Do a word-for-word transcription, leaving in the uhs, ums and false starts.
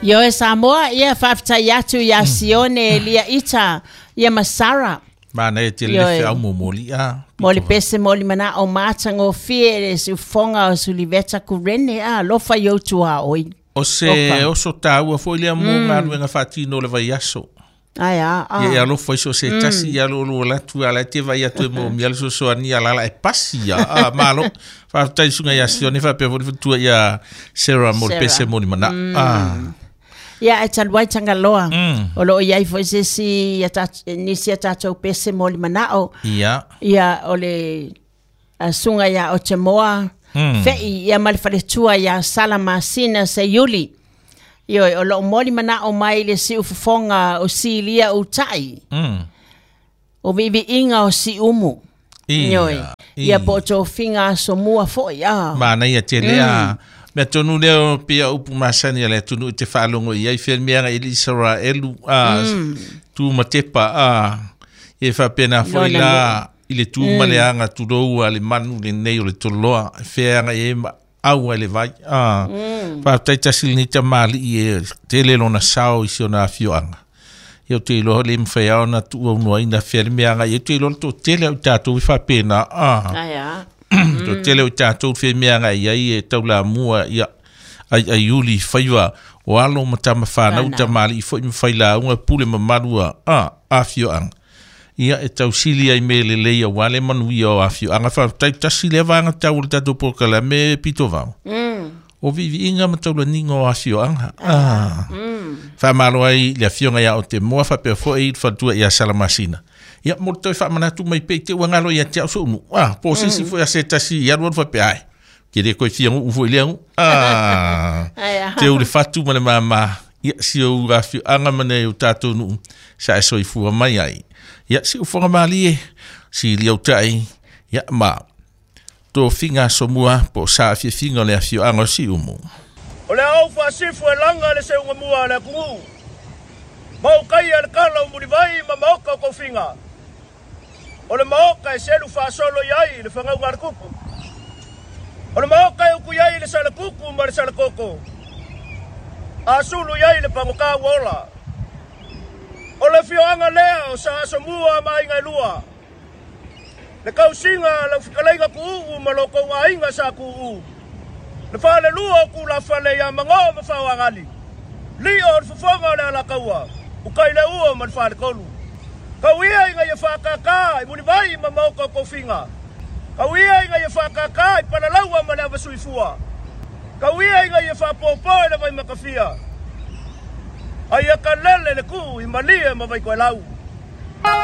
Ioe Samoa, ia faafetai atu ia Sione Elia Ita, ia ma Sara. Manaia tele le feau momoli a. Mo le pese mo le manao matagofie le siufofoga o Suliveta Kurene a alofa i ou tuaoi. O se oso taua foi lea mo galuega faatino o le vaiaso. Ai a, a. Ia e alofa i so se tasi ia lo lo latu ala te vai atu e mo mia le sosoani ala ala e pasi ia. A malo. Faafetai suga ia Sione faapea foi le faletua ia Sarah mo le pese mo le manao. A. Ia e talu ai Tagaloa. O loo iai foi se isi ia nisi a tatou pese mo le manao. Ia. Ia o le suga ia o te moa. Fei ia ma le faletua ia Sala Masina Seiuli. Ioe, o loo moli manao mai le siufofoga o Silia Utai. O viiviiga o Siumu. Ioe. Ia po o tofiga asomua foi a. Manaia tele a. Mea tonu lea o pea upu masani a le atunuu i te faalogo i ai fea mea agai i le Isaraelu a tu ma tepa a e faapena foi la i le tu ma le aga tulou a le manu lenei o le toloa fea agai ai ma au ai le vai a faafetai tasi lenei tamalii e tele lona sao i si ona afioaga. Ia ou te iloa le mawhai ao na tuua unuaina fea le mea agai. Ia te iloa le toatele au i tatou i faapena a. Toatele au i tatou fea mea agai ai e taulamua ia ai ai uli faiva o alo ma tama whanau tamalii foi ma whailauga pule mamalu a afioaga. Ia e tausili ai me lelei aua le manuia o afioaga. Faafetai tasi lea vaega tau o le tatou polokalame pitovao. O viiviiga ma taulaniga o afioaga. Faamalo ai le afioga ia o te moa faapea foi i le faletua ia Salamasina. Ia mo le toe faamanatu mai pea i te uagalo ia te au sounu. Ah, po o se isi foi a se tasi i alu alu faapea ai. Ke le koe fia nguu foi lea ngu. Ah, te u le fatu ma le mama. Ia si ou afioaga ma nei o tatou nuu sa e soifua mai ai. Ia si ufoga malie, si liautai, ia ma tofiga asomua po o sa afiafiga o le afioaga o Siumu. O le au faasifu e laga le seugamua a le atunuu. Ma ukaia le kala o mulivai ma maoka o kofiga. O le maoka e selu faasolo i ai le fagauga a le kupu. O le maoka e uku i ai le salakuku ma le salakoko. A sulu i ai le pagokā ua ola. O le afioaga lea o sa asomua ma aiga e lua. Le kausiga lau fetalaiga kuuu ma lo kou aiga sa kuuu. Le falelua o kulafale ia mangō ma faoagali. Lio o le fofoga o le alakaua, ukai le ua ma le falekolu. Kau ia ina ia whakaka i mulivai ma maoka o kofiga. Kau ia ina ia whakaka i palalaua ma le avasuifua. Kau ia ina ia whapopo e le vai makawhia. Ai a kalele le kuu i malie ma vaikoelau.